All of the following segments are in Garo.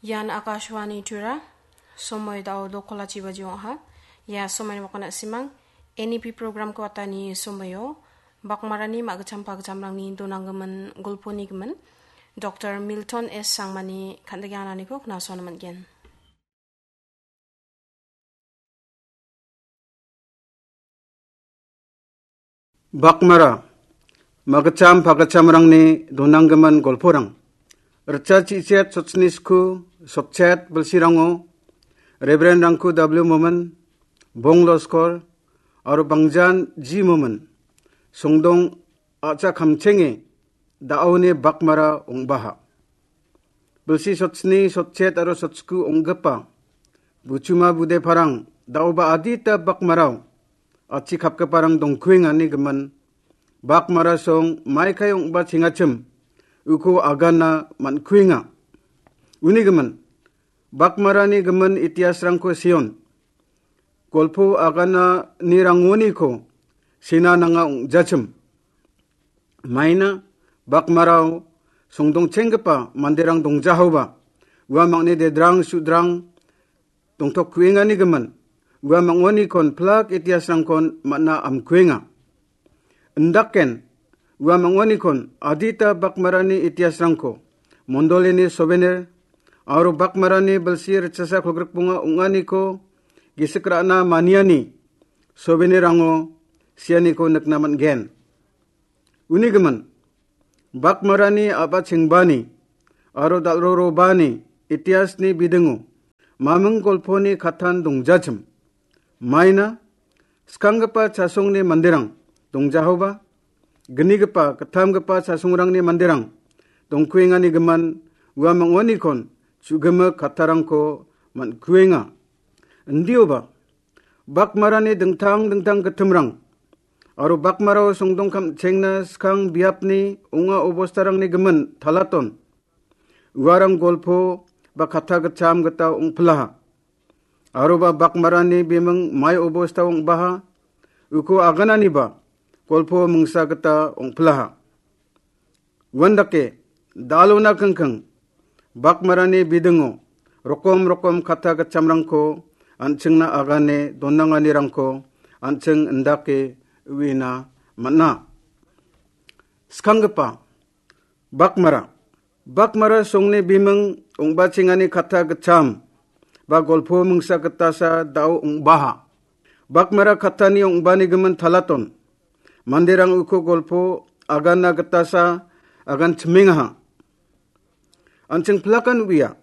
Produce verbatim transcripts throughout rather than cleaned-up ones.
Ian Akashvani Tura, somoi dao dokolachi baji ong·aha. Ia somoi wakana simang, N E P program ko atani somoio, Bakmarani magitcham pagitchamrangni donanggimin golponi gimin, Doktor Milton S Sangmani kan·dege ananiko knasoana man·gen. Bakmara, magitcham pagitchamrangni donanggimin golporang. Ritcha chichet sotsni sku, sotchet bilsirango, Reverend Rangku W Momin, Bong Loskor, aro Bangjan G Momin, songdong a·cha kamchenge da·oni Bakmara ong·baha. Bilsi sotsni sotchet aro sotsku ong·gipa buchuma bude parang da·oba adita Bakmarao achi kapgiparang dongkuengani gimin Bakmara song maikai ong·ba chengachim uko agana man·kuenga. Uni gimin Bakmarani gimin itiasrangko seon golpo agananirangoniko sena nanga ong·jachim. Maina Bakmarao songdongchenggipa manderang dongjahaoba, uamangni dedrang sudrang dongtokkuengani gimin, uamangonikon plak itiasrangkon man·a amkuenga. Indaken, uamangonikon adita Bakmarani itiasrangko, mondolini souvenir, aro Bakmarani bilsi ritchasa kolgrikbonga ong·aniko gisik ra·na maniani souvenirrango sianiko nikna man·gen. Uni gimin, Bakmarani a·ba chengbani aro dal·rorobani itiasni bidingo maming golponi kattan dongjachim. Maina skanggipa chasongni manderang dongjahoba, gnigipa, gittamgipa chasongrangni manderang dongkuengani gimin uamangonikon chu·gimik kattarangko man·kuenga. Indioba, Bakmarani dingtang dingtang gittimrang aro Bakmarao songdong kamchengna skang biapni ong·a obostarangni gimin talaton. Uarang golpo ba katta gitcham gita ong·pilaha. Aroba Bakmarani biming mai obosta ong·baha, uko agananiba golpo mingsa gita ong·pilaha. Uandake, dalona kingking, Bakmarani bidingo rokom rokom katta gitchamrangko an·chingna agane donanganirangko an·ching indake uina man·a. Skanggipa, Bakmara. Bakmara songni biming ong·bachengani katta gitcham ba golpo mingsa gitasa da·o ong·baha. Bakmara kattani ong·bani gimin talaton. Manderang uko golpo agana gitasa agan chimengaha. An·ching plakan uia.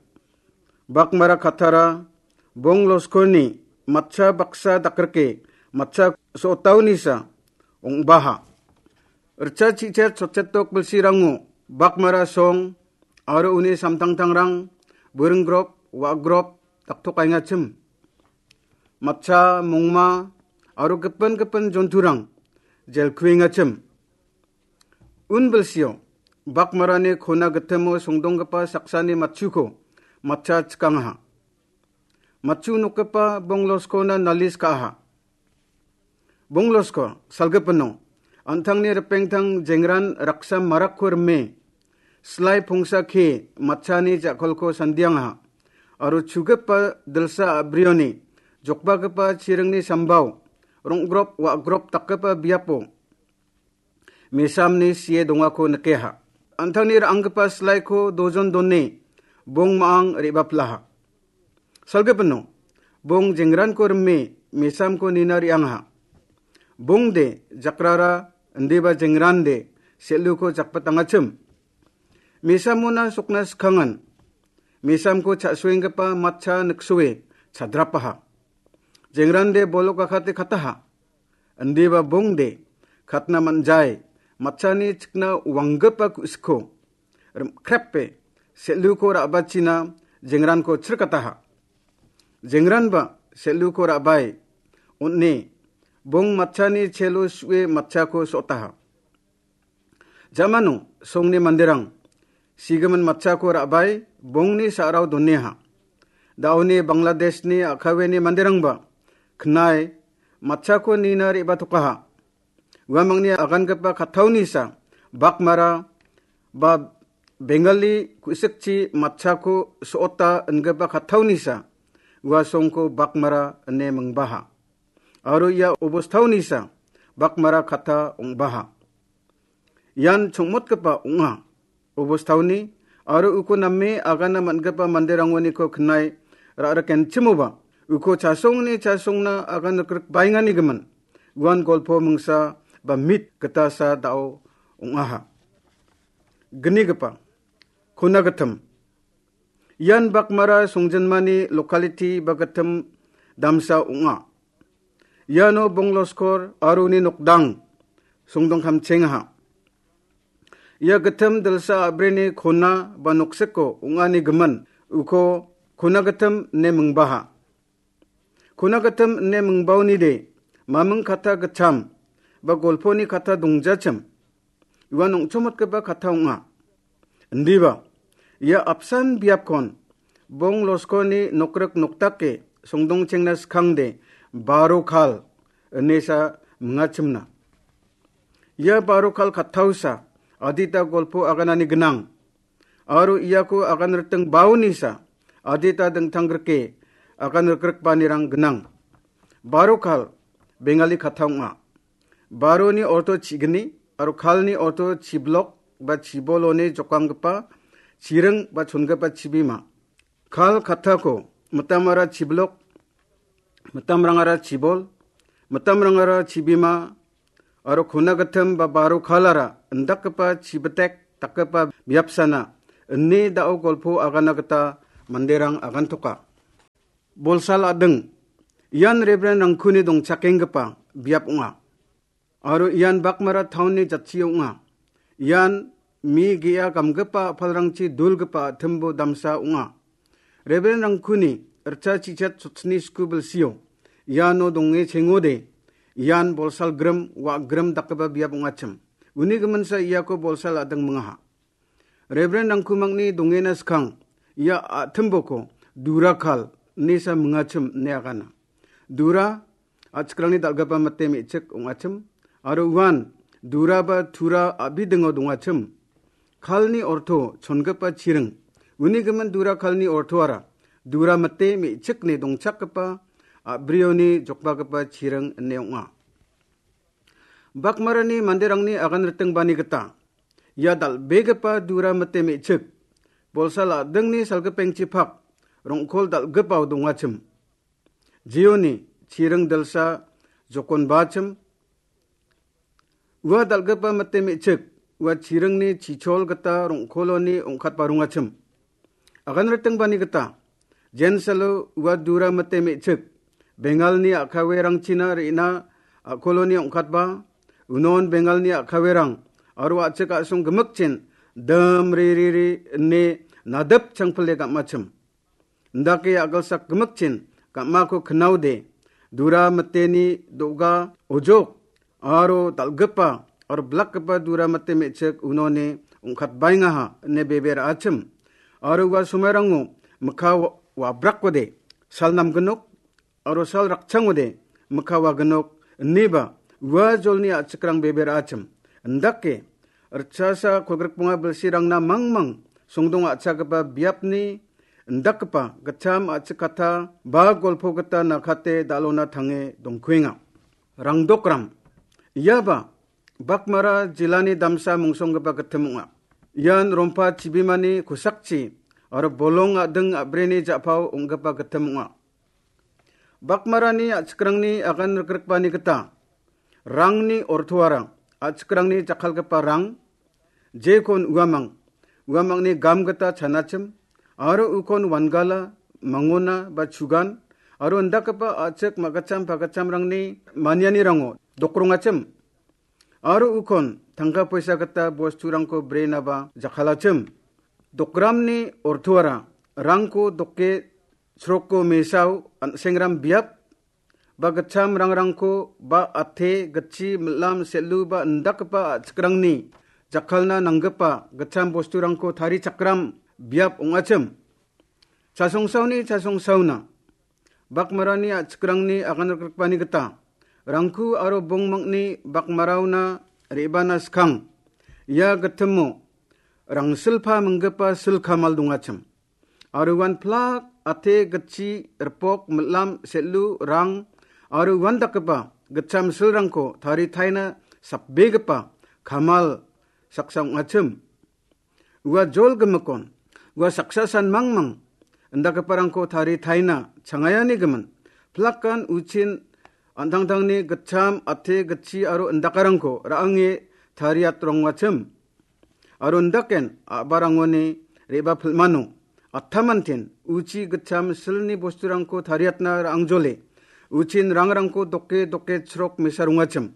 Bakmara kattara Bong Loskorni matcha baksa dakrike matcha so·otaonisa ong·baha. Ritcha chichet sotchetok bilsirango Bakmara song aro uni samtangtangrang buring grop, wa·grop daktokaengachim. Matcha, mongma aro gipin gipin jonturang jelkuengachim. Un bilsio, Bakmarani kona gitimo songdonggipa saksani matchuko matcha chikangaha. Matchu nokgipa Bong Loskona nalis ka·aha. Bong Losko, salgipino, an·tangni ripengtang jengran raksa marakko rime, slai pongsa ke matchani ja·kolko sandiangaha, aro chugipa dilsa a·brioni jokbagipa chiringni sambao rong·grop wa·grop dakgipa biapo mesamni sie dongako nikeha. An·tangni ra·anggipa silaiko dojon done bong ma·ang re·baplaha. Salgipino, bong jengranko rime mesamko nina re·angaha. Bongde jakrara indiba jengrande sel·uko jakpatangachim. Mesamona sokna skangan mesamko cha·soenggipa matcha niksoe chadrapaha. Jengrande bolok akate kataha. Indiba bongde katna man·jai matchani chikna wanggipa ku·sikko rimkrepe sel·uko ra·bachina jengranko chirkataha. Jengranba sel·uko ra·bae on·e bong matchani chelo su·e matchako so·otaha. Jamano songni manderang sigimin matchako ra·bae bongni sa·rao doneha. Da·oni Bangladeshni a·kaweni manderangba knae matchako nina re·batokaha. Uamangni agangipa kattaonisa Bakmara ba Bengali ku·sikchi matchako so·ota ingipa kattaonisa ua songko Bakmara ine mingbaha. Aro ia obostaonisa Bakmara katta ong·baha. Ian chongmotgipa ong·a. Obostaoni aro uko name agana man·gipa manderangoniko knai ra·rikenchimoba uko chasongni chasongna agan rikrikbaengani gimin uan golpo mingsa ba mit gitasa da·o ong·aha. Gnigipa, Kona Gittim. Ian Bakmara songjinmani locality ba gittim damsa ong·a. Iano Bongloskor aro uni nokdang songdongkamchengaha. Ia gittim dilsa a·brini kona ba noksiko ong·ani gimin uko Kona Gittim ine mingbaha. Kona Gittim ine mingbaonide maming katta gittam ba golponi katta dongjachim. Uan ong·chomotgipa katta ong·a. Indiba, ia apsan biapkon Bongloskoni nokrik noktake songdongchengna skangde Baro Khal inesa mingachimna. Ia Baro Khal kattaosa adita golpo aganani gnang. Aro iako agan riting baonisa adita dingtang grike agan rikrikbanirang gnang. Baro Khal Bengali katta ong·a. Baroni orto chigni aro Khalni orto chiblok ba chiboloni jokanggipa chiring ba chongipa chibima. Khal kattako mitamara chiblok, mitamrangara chibol, mitamrangara chibima, aro Kona Gittim ba Baro Khalara indakgipa chibitek dakgipa biapsana ine da·o golpo agana gita manderang agantoka. Bolsal a·ding, ian Reverend Rangkuni dongchakenggipa biap ong·a. Aro ian Bakmara town-ni jatchio ong·a. Ian mi ge·a gamgipa a·palrangchi dulgipa a·timbo damsa ong·a. Reverend Rangkuni ritcha chichat chotsni sku bilsio iano donge chengode, ian bolsal grim, wa·grim dakgipa biap ong·achim. Uni giminsa iako bolsal a·ding mingaha. Reverend Rangkumangni dongena skang ia a·timboko Dura Khal inesa mingachim ine agana. Dura a·chikrangni dal·gipa mite me·chik ong·achim, aro uan Dura ba Tura a·bidingo dongachim. Khalni orto chongipa chiring. Uni gimin Dura Khalni ortoara Dura mite me·chikni dongchakgipa a·brioni jokbagipa chiring ine ong·a. Bakmarani manderangni agan ritingbani gita ia dal·begipa Dura mite me·chik bolsal a·dingni salgipengchipak rong·kol dal·gipao dongachim. Jeoni chiring dilsa jokonbachim. Ua dal·gipa mite me·chik ua chiringni chichol gita rong·koloni ong·katba rongachim. Agan ritingbani gita, jensalo ua Dura mite me·chik Bengalni a·kawerangchina re·na a·koloni ong·katba, unon Bengalni a·kawerang aro a·chik a·song gimikchin dim ri ri ri ine nadip changpile gam·achim. Indake a·gilsak gimikchin gam·ako knaode, Dura miteni do·ga ojok aro dal·gipa aro blakgipa Dura mite me·chik unoni ong·katbaengaha ine bebe ra·achim. Aro ua somairangmo mikka wa-, wabrakode, sal namgnok aro sal rakchangode, mikka wagnok ineba ua jolni a·chikrang bebe ra·achim. Indake ritchasa kolgrikbonga bilsirangna mangmang songdong a·chagipa biapni indakgipa gitcham a·chik katta ba golpo gita nakate dal·ona tange dongkuenga. Rangdokram. Iaba Bakmara jilani damsa mungsonggipa gittim ong·a. Ian rompa chibimani kosakchi aro bolong a·ding a·brini ja·pao ong·gipa gittim ong·a. Bakmarani a·chikrangni agan rikrikbani gita rangni ortoara a·chikrangni jakkalgipa rang, jekon uamang, uamangni gam gita chanachim, aro ukon wangala, mangona ba chugan, aro indakgipa a·chik ma·gitcham pagitchamrangni manianirango dokrongachim, aro ukon tangka poisa gita bosturangko brenaba jakkalachim. Dokramni ortoara rangko doke sroko mesao an·sengram biap ba gitcham rangrangko ba ate gitchi milam selu ba indakgipa a·chikrangni jakkalna nanggipa gitcham bosturangko tarichakram biap ong·achim. Chasongsaoni chasongsaona Bakmarani a·chikrangni agan rikrikbani gita rangku aro bongmangni Bakmaraona re·bana skang. Ia gittimo rangsilpa minggipa sil kamal dongachim. Aro uan plak, ate, gitchi, ripok, milam, selu, rang, aro uan dakgipa gitcham silrangko taritaina sapbegipa kamal saksa ong·achim. Ua jol gimikon, ua saksa san mangmang indakgiparangko taritaina changayani gimin, plakan uchin an·tangtangni gitcham, ate, gitchi aro indakarangko ra·ange tariatrongachim. Aro indaken a·barangoni re·bapilmano attamantin uchi gitcham silni bosturangko tariatna ra·angjole uchin rangrangko doke doke chrok mesarongachim.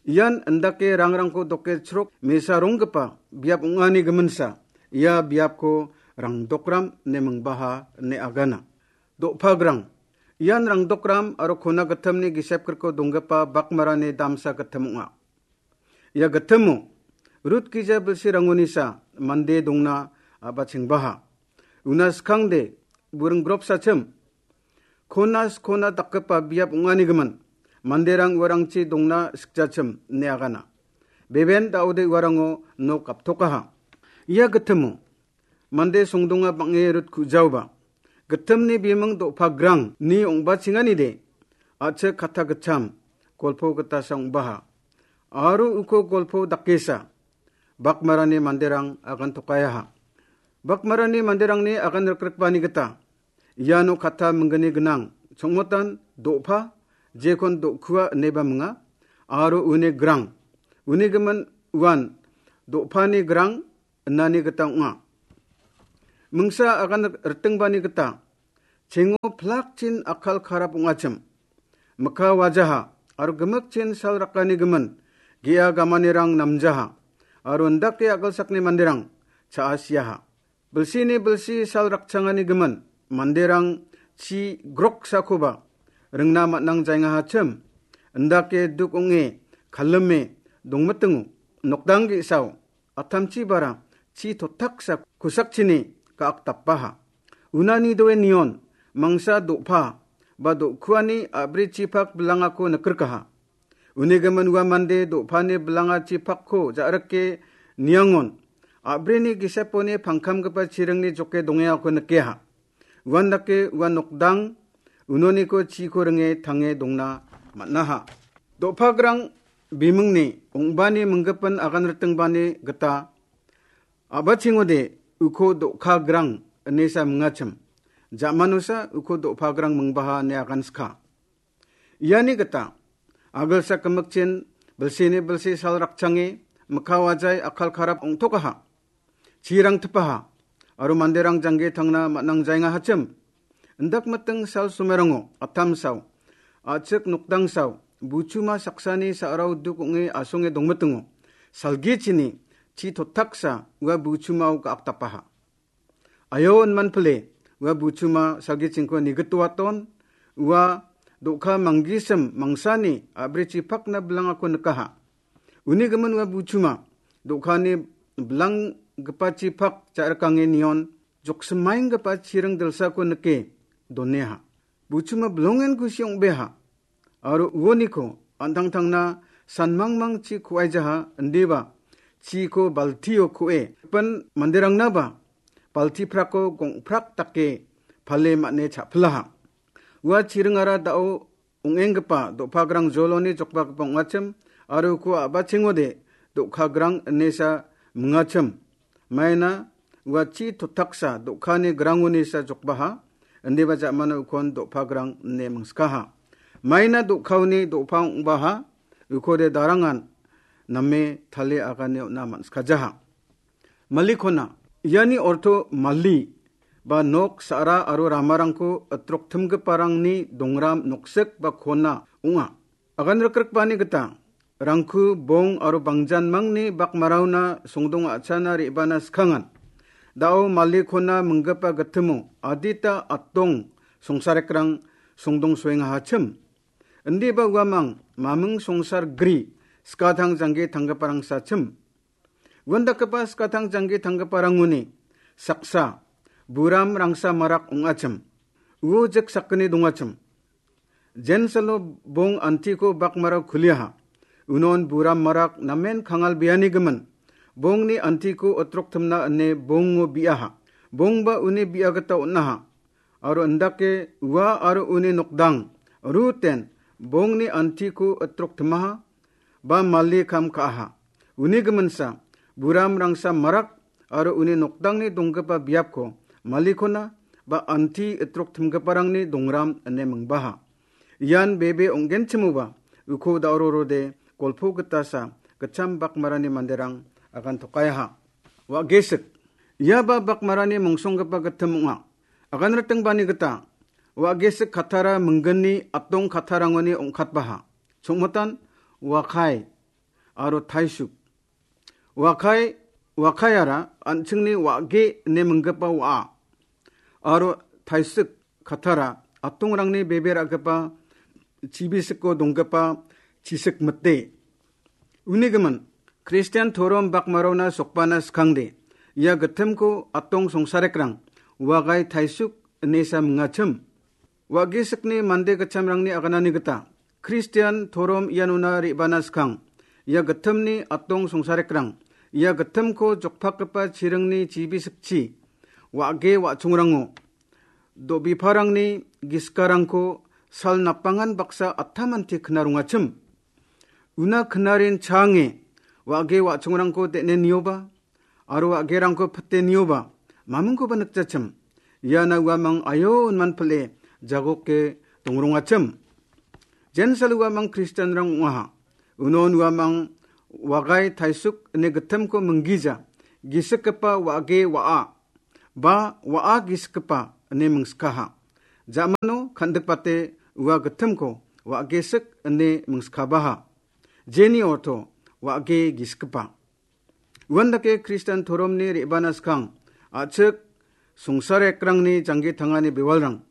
Ian indake rangrangko doke chrok mesaronggipa biap ong·ani giminsa, ia biapko rangdokram ine mingbaha ine agana. Do·pagrang, ian rangdokram aro kona gittamni gisepgrikko donggipa bakmarani damsa gittam ong·a. Ia gittamo Rut gija bilsirangonisa mande dongna a·bachengbaha. Una skangde buring gropsachim, kona skona dakgipa biap ong·ani gimin, manderang uarangchi dongna sikjachim ine agana. Beben da·ode uarango nok aptokaha. Ia gittimo mande songdonga bang·e Rut ku·jaoba, gittimni biming do·pagrang ni ong·bachenganide, a·chik katta gitcham golpo gitasa ong·baha. Aro uko golpo dakesa bakmarani manderang agantokayaha. Bakmarani manderangni agan rikrikbani gita iano katta minggni gnang, chongmotan do·pa, jekon do·kua ineba minga, aro uni grang, uni gimin uan do·pani grang inani gita ong·a. Mingsa agan ritingbani gita chengo plakchin akal karap ong·achim. Mikka wajaha aro gimikchin sal rakani gimin ge·a gamanirang namjaha, aro indake a·gilsakni manderang cha·asiaha. Bilsini bilsi sal rakchangani gimin manderang chi groksakoba ringna man·ang jaengahachim. Indake duk ong·e, kalime dongmitingo nokdang ge·sao atamchi bara chi totaksa kosakchini ka·akdapaha. Unani doe nion mangsa do·pa ba do·kuani a·brichipak bilangako nikrikaha. Uni gimin ua mande do·pani bilangachipakko ja·rike niangon a·brini giseponi pangkamgipa chiringni joke dongengako nikeha. Uandake ua nokdang unoniko chiko ringe tange dongna man·aha. Do·pagrang bimingni ong·bani minggipin agan ritingbani gita a·bachengode uko do·kagrang inesa mingachim. Ja·manosa uko do·pagrang mingbaha ine agan sika. Iani gita a·gilsak gimikchin bilsini bilsi sal rakchange mikka wajai akal karap ong·tokaha. Chirang tipaha aro manderang jangge tangna man·ang jaengahachim. Indak miting sal somerango atamsao, a·chik nokdangsao, buchuma saksani sa·rao duk ong·e asonge dongmitingo salgichini chi totaksa ua buchumao ga·akdapaha. Ayo inmanpile ua buchuma salgichingko nigitoaton, ua do·ka manggisim mangsani a·brichipakna bilangako nikaha. Uni gimin ua buchuma do·kani bilanggipachipak ja·rikange nion joksimaenggipa chiring dilsako nike doneha. Buchuma bilongen kusi ong·beha. Aro uoniko an·tangtangna sanmangmangchi ku·aijaha, indiba chiko baltio ku·e, gipin manderangnaba baltiprako gongprak dake pale man·e cha·pilaha. Ua chiringara da·o ong·enggipa do·pagrang joloni jokbagipa ong·achim, aro uko a·bachengode do·kagrang inesa mingachim. Maina ua chi totaksa do·kani grangonisa jokbaha, indiba ja·mano ukon do·pagrang ine mingskaha. Maina do·kaoni do·pa ong·baha, ukode darangan name tale agane on·a man·skajaha. Malikona, iani orto mali ba nok, sa·ra aro ramarangko itroktimgiparangni dongram noksik ba kona ong·a. Agan rikrikbani gita, rangku, bong aro bangjanmangni bakmaraona songdong a·chana re·bana skangan. Da·o malikona minggipa gitimo adita atdong songsarekrang songdong soengahachim. Indiba uamang maming songsar gri skatang jangge tanggiparang sachim. Uandakgipa skatang jangge tanggiparangoni saksa buram rangsa marak ong·achim. Uo jik sakgni dongachim. Jensalo bong antiko bakmarao kuliaha. Unon buram marak namen kangal biani gimin. bongni antiko itroktimna ine bongo bi·aha. Bongba uni bi·a gita on·aha. Aro indake ua aro uni nokdang, Ruten, bongni antiko itroktimaha, ba mali kam ka·aha. Uni giminsa, buramrangsa marak aro uni nokdangni donggipa biapko malikona ba anti itroktimgiparangni dongram ine mingbaha. Ian bebe ong·genchimoba uko da·rorode golpo gitasa gitcham bakmarani manderang agantokayaha. Wa·gesik. Ia ba bakmarani mongsonggipa gittim ong·a. Aganritingbani gita, wa·gesik kattara mingginni atong kattarangoni ong·katbaha. Chongmotan, wakai aro taisuk. Wakai, wakaiara an·chingni wa·ge ine minggipa wa·a. Aro taisik kattara atongrangni bebe ra·gipa chibisiko donggipa chisik mite. Uni gimin, Kristian torom bakmarona sokbana skangde, ia gittimko atong songsarekrang, wagai taisuk inesa mingachim. Wa·gesikni mande gitchamrangni aganani gita, Kristian torom ianona re·bana skang, ia gittimni atong songsarekrang, ia gittimko jokpakgipa chiringni chibisikchi, wa·ge wa·chongrango, do·biparangni giskarangko sal napangan baksa attamanti kna rongachim. Una knarin change, wa·ge wa·chongrangko den·e nioba, aro wa·gerangko pite nioba, mamingkoba nikjachim. Iana uamang ayo inman pile jagoke dongrongachim. Jensal uamang Kristianrang ong·aha. Unon uamang wagai taisuk ine gittimko minggija, gisikgipa wa·ge wa·a, ba wa·a gisikgipa ine mingskaha. Ja·mano kandikbate ua gittimko wa·gesik ine mingskabaha. Jeni orto wa·ge gisikgipa. Uandake Kristian toromni re·bana skang, a·chik songsarekrangni janggi tangani bewalrang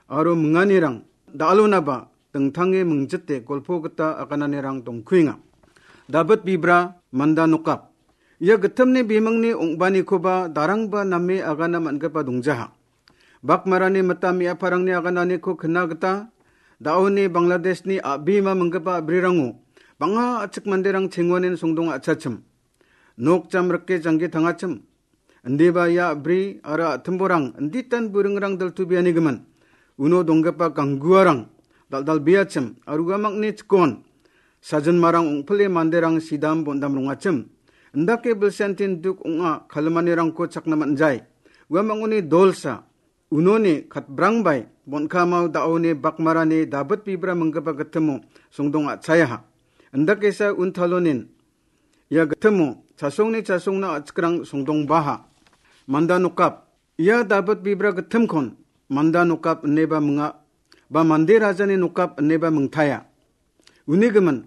aro minganirang da·alonaba dingtange mingjite golpo gita agananirang dongkuenga. Dabit bibra manda nokap. Ia gittimni bimingni ong·banikoba darangba name agana man·gipa dongjaha. Bakmarani mita me·aparangni agananiko kna gita, da·oni Bangladeshni a·bima minggipa a·brirango bang·a a·chik manderang chengoanin songdong a·chachim. Nok jam rike janggi tangachim. Indiba ia a·bri aro a·timborang inditan buringrang diltubianigimin. Uno donggipa gangguarang dal·dalbeachim aro uamangni chikon. Sajinmarang ong·pile manderang sidam bondam rongachim. Indake bilsiantin duk ong·a kalimanirangko chakna man·jai. Uamangoni dolsa unoni katbrangbai bon·kamao da·oni bakmarani Dabit bibra minggipa gittimo songdong a·chayaha. Indakesa untalonin ia gittimo chasongni chasongna a·chikrang songdongbaha. Manda nokap. Ia Dabit bibra gittimkon manda nokap ineba minga, ba mande rajani nokap ineba mingtaya. Uni gimin,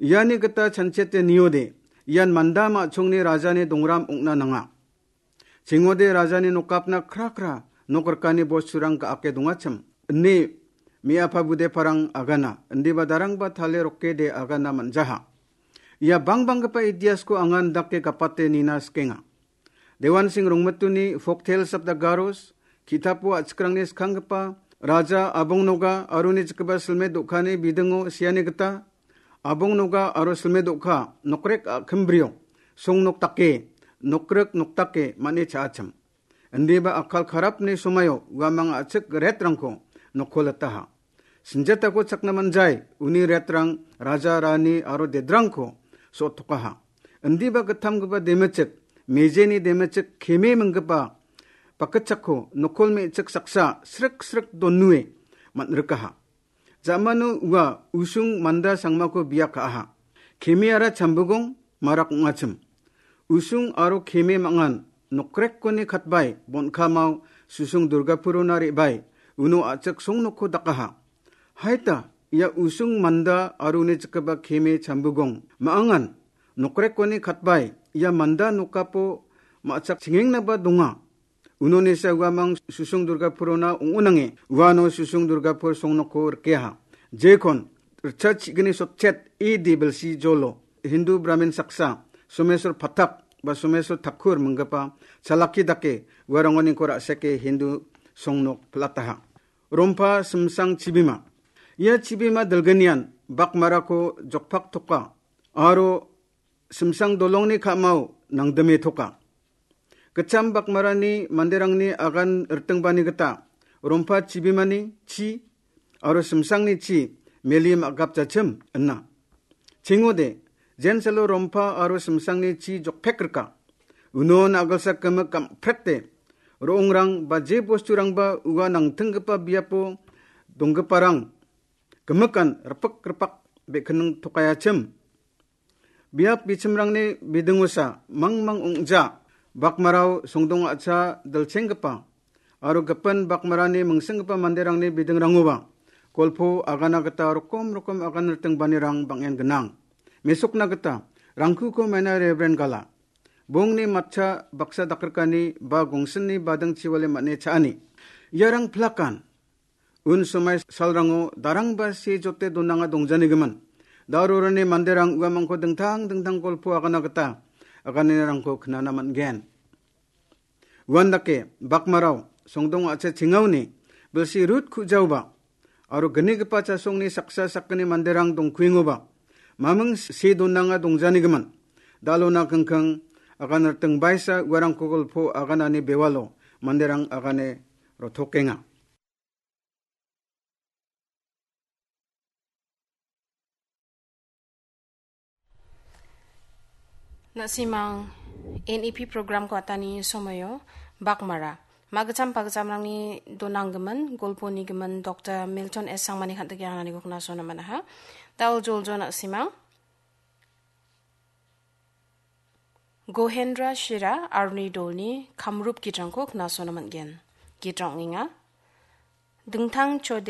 iani gita chanchiate niode, ian manda ma·chongni rajani dongram ong·na nanga. Chingode rajani nokapna kra kra nok rikani bosturang ga·ake dongachim, ine me·apa budeparang agana, indiba darangba tale rokede agana man·jaha. Ia bangbanggipa ideasko anga indake gapate nina sikenga. Dewan Singh Rongmituni Folk Tales of the Garos, ki·tapo a·chikrangni skanggipa Raja Abong Noga aroni jikgipa silme do·kani bidingo seani gita, Abong Noga aro silme do·ka nokrek a·kimbrio songnok dake, nokrik nok dake man·e cha·achim. Indiba akal karapni somaio uamang a·chik retrangko nokko litaha. Sinjatako chakna man·jai, uni retrang raja, rani aro dedrangko so·ottokaha. Indiba gittamgipa demechik, mejeni demechik keme minggipa bakgitchakko nokol me·chik saksa srik srik donue man·rikaha. Ja·mano ua usung manda sangmako bia ka·aha. Kemeara chambigong marak ong·achim. Usung aro keme mangan nokrekkoni katbai bon·kamao Susung Durgapurona re·bae uno a·chik songnokko dakaha. Haita ia usung manda aro uni jikgipa keme chambigong ma·angan nokrekkoni katbai ia manda nokapo ma·chak chengengnaba donga. Unonesa uamang Susung Durgapurona ong·onange uano Susung Durgapur songnokko rikeha. Jekon ritchachigni sotchet A D bilsi jolo Hindu Brahmin saksa Someswar Pathak ba Someswar Thakur minggipa chalaki dake uarangoniko ra·seke Hindu songnok pil·ataha. Rompa simsang chibima. Ia chibima dilginian bakmarako jokpaktoka aro Simsang dolongni ka·mao nangdime toka. Gitcham bakmarani manderangni agan ritingbani gita rompa chibimani chi aro simsangni chi meli ma·gapjachim ina. Chingode, jensalo rompa aro simsangni chi jokpek rika. Unon agilsak gimik gam·prete ro·ongrang ba je bosturangba ua nangtinggipa biapo donggiparang gimikan ripik ripak be·kinning tokayachim. Biap bichimrangni bidingosa mangmang ong·ja bakmarao songdong a·cha dilchenggipa aro gipin bakmarani mingsinggipa manderangni bidingrangoba golpo agana gita rokom rokom agan ritingbanirang bang·en gnang. Mesokna gita Rangkuko maina Reverend Gala. Bongni matcha baksa dakrikani ba gongsinni bading chiwale man·e cha·ani. Iarang plakan. Un somai salrango darangba se jote donanga dongjanigimin. Darorani manderang uamangko dingtang dingtang golpo agana gita aganirangko knana man·gen. Uandake bakmarao songdong a·cha chingaoni bilsi rut ku·jaoba aro gnigipa chasongni saksa sakgni manderang dongkuengoba maming se donanga dongjanigimin. Dalona kingking agan riting baisa uarangko golpo aganani bewalo manderang agane rotokenga. Na·simang N E P program ko atani somoio bakmara magicham pagichamrangni donanggimin golponigimin Doktor Milton S Sangmani kan·tike anganiko knasona manaha. Dal joljo na·simang Gohendra Shira arni dolni kamrup gitrangko knasona man·gen. Gitrang ong·enga. Dingtang